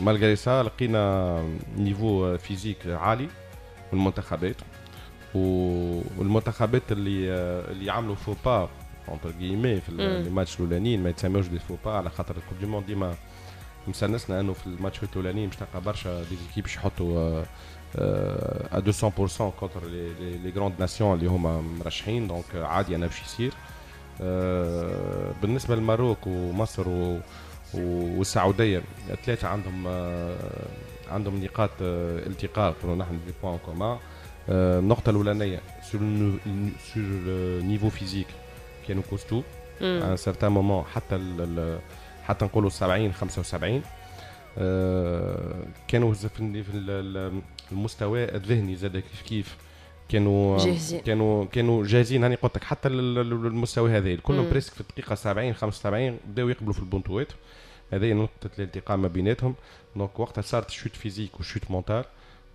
Malgré ça لقينا niveau physique عالي من المنتخبات، والمنتخبات اللي عملوا faux pas entre guillemets في les matchs الاولانيين، ما يتسموش des faux pas على خاطر ال coupe du monde ديما مسنسنا انه في الماتشات الاولانيين باش تلقى برشا des équipes يحطوا à 200% contre les grandes nations اللي هما مرشحين، donc عادي انا باش يصير. بالنسبة لل Maroc ومصر والسعوديه، ثلاثة عندهم نقاط التقاء، نقولوا نحن des points communs. النقطة الاولانية sur le niveau physique، كانوا costauds à un certain moment، حتى نقولوا 70 75 كانوا في المستوى الذهني زاد كيف كيف كانوا جاهزين. كانوا جاهزين. هاني قلت لك حتى المستوى هذا كلهم presque في الدقيقة 70 75 بداوا يقبلوا في البونتوات. هذه نقطة الالتقاء ما بيناتهم. donc وقتها صارت chute physique و chute mentale.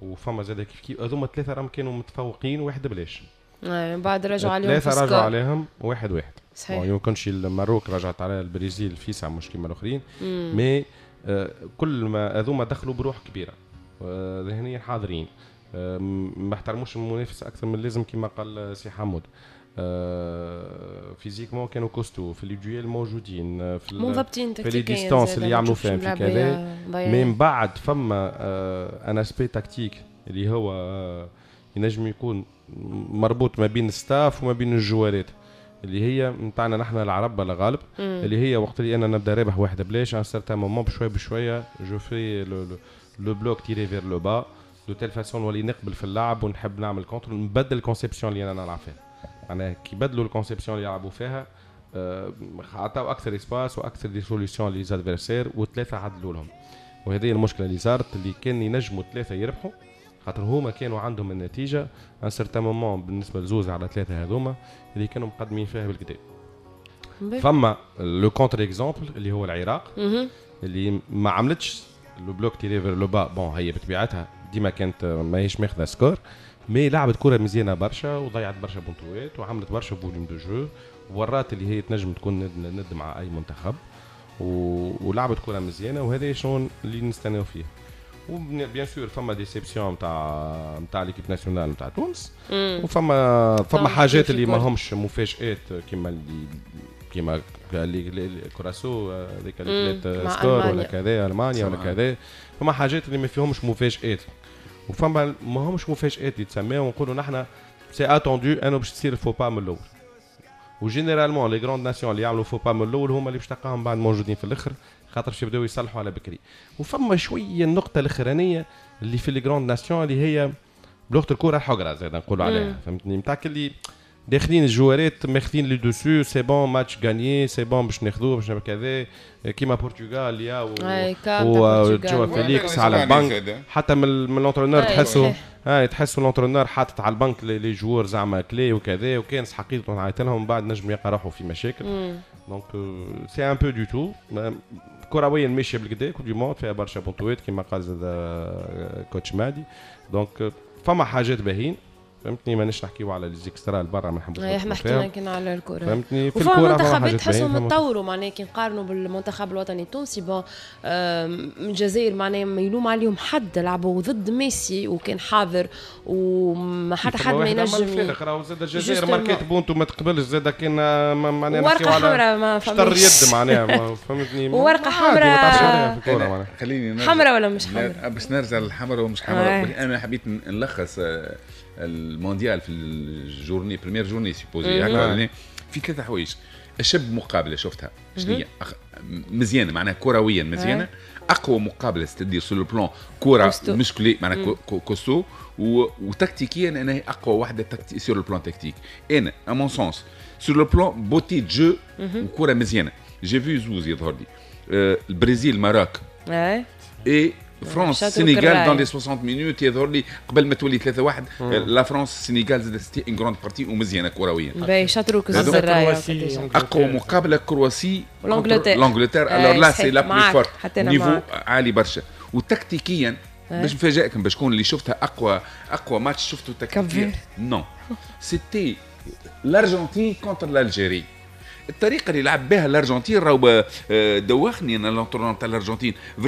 وفما زاد كيف كيف هذوما ثلاثة راهم كانوا متفوقين 1-0. بعد رجعوا عليهم. ثلاثة رجعوا عليهم 1-1. يمكنش ال Maroc رجعت على البرازيل فيسع مش كيما الاخرين، mais كل ما هذوما دخلوا بروح كبيره، ذهنيا حاضرين، ما احترموش المنافس اكثر من اللازم كما قال سي حمود، physiquement كانوا costauds، في les duels موجودين، في منضبطين. في les distances اللي يعملوا فيهم، في كذا. من بعد فما un aspect tactique اللي هو ينجم يكون مربوط ما بين staff وما بين الجوارات، اللي هي نتاعنا نحن العرب على غالب، اللي هي وقت اللي انا نبدا رابح 1-0، un certain moment بشوية بشوية je fais le bloc tiré vers le bas de telle façon نولي نقبل في اللعب ونحب نعمل contre، نبدل ال conception اللي انا نلعب فيها. معناها كي بدلوا ال conception اللي يلعبوا فيها عطاو اكثر espace واكثر des solutions les adversaires، وثلاثة عدلوا لهم. وهذه المشكلة اللي صارت، اللي كان ينجموا ثلاثة يربحوا خاطر هما كانوا عندهم النتيجة un certain moment بالنسبة لزوز على ثلاثة هذوما اللي كانوا مقدمين فيها بالكدا. فما le contre-exemple اللي هو العراق اللي ما عملتش le bloc tiré vers le bas. bon، هي بطبيعتها ديما كانت ماهيش ماخذه score، mais لعبت كره مزيانه برشا وضيعت برشا بونتوات وعملت برشا volume de jeu، ورات اللي هي تنجم تكون ند ند مع اي منتخب ولعبت كره مزيانه، وهذا شنو اللي نستناو فيه. و bien sûr فما déception نتاع l'équipe nationale نتاع تونس، وفما حاجات اللي ما همش مفاجآت كيما اللي كوراسو هذيك اللي كلات score ولا كذا، المانيا ولا كذا. فما حاجات اللي ما فيهمش مفاجآت وفما ما همش مفاجآت يتسماو ونقولوا نحن c'est attendu انه باش تصير faux pas من الاول. و généralement les grandes nations اللي يعملوا faux pas من الاول هما اللي باش تلقاهم بعد موجودين في الاخر، خاطر باش يبداو يصلحوا على بكري. وفما شوية النقطة الاخرانية اللي في les grandes nations اللي هي بلغه الكره الحقره زاد نقولوا عليها، فهمتني، نتاع اللي داخلين الجوارات ماخذين le dessus، c'est bon match gagné، c'est bon باش ناخذوه باش كذا، كيما البرتغال يا و جوا فيليكس على البنك، حتى من l'entraîneur تحسوا هاي تحسوا l'entraîneur حاطط على ال banc les joueurs زعما clés وكذا، وكان حقيقة نعيط لهم بعد نجم يلقى روحه في مشاكل. donc c'est un peu de tout. كرويا ماشية بالكدا، coupe du monde فيها برشا بونتوات كيما قال زاد coach مادي، donc فما حاجات باهين، فهمتني، مانيش نحكيو على les extras برا، ما نحبوش. احنا حكينا كنا على الكره. فهمتني. في الكره منتخبات تحسهم تطوروا، معناها كي نقارنوا بالمنتخب الوطني التونسي، bon الجزائر معناها ما يلوم عليهم حد، لعبوا ضد ميسي وكان حاضر وما حتى حد ما ينجم. الفارق راهو زاد الجزائر ماركات بونتو ما تقبلش زاد، كان معناها ورقة حمراء ما فهمتش يد معناها، فهمتني. ورقة حمراء. خليني حمراء ولا مش حمراء؟ باش نرجع للحمراء ومش حمراء، انا حبيت نلخص المونديال في ال journée، première journée supposée هكا، في ثلاثة حوايج. اشب مقابله شفتها شنو هي؟ مزيانه، معناها كرويا مزيانه، اقوى مقابله، c'est-à-dire sur le plan كره musclée معناها costaud، وتكتيكيا انا هي اقوى واحدة sur le plan tactique. انا à mon sens sur le plan beauté de jeu وكره مزيانه، j'ai vu زوز يظهر لي البرازيل Maroc et France Sénégal dans les 60 minutes، يظهر لي قبل ما تولي 3-1 la France Sénégal زاد c'était une grande partie ومزيانه كرويا. باهي، شاطروك الزرايه. اقوى مقابله Croatie l'Angleterre. l'Angleterre alors là c'est la plus forte، niveau عالي برشا. وتكتيكيا باش نفاجئكم باش شكون اللي شفتها اقوى اقوى ماتش شفته تكتيكيا؟ non، c'était l'Argentine contre l'Algérie. الطريقة اللي لعب بها الارجنتين راهو دوخني انا، l'entraîneur تاع الارجنتين vraiment.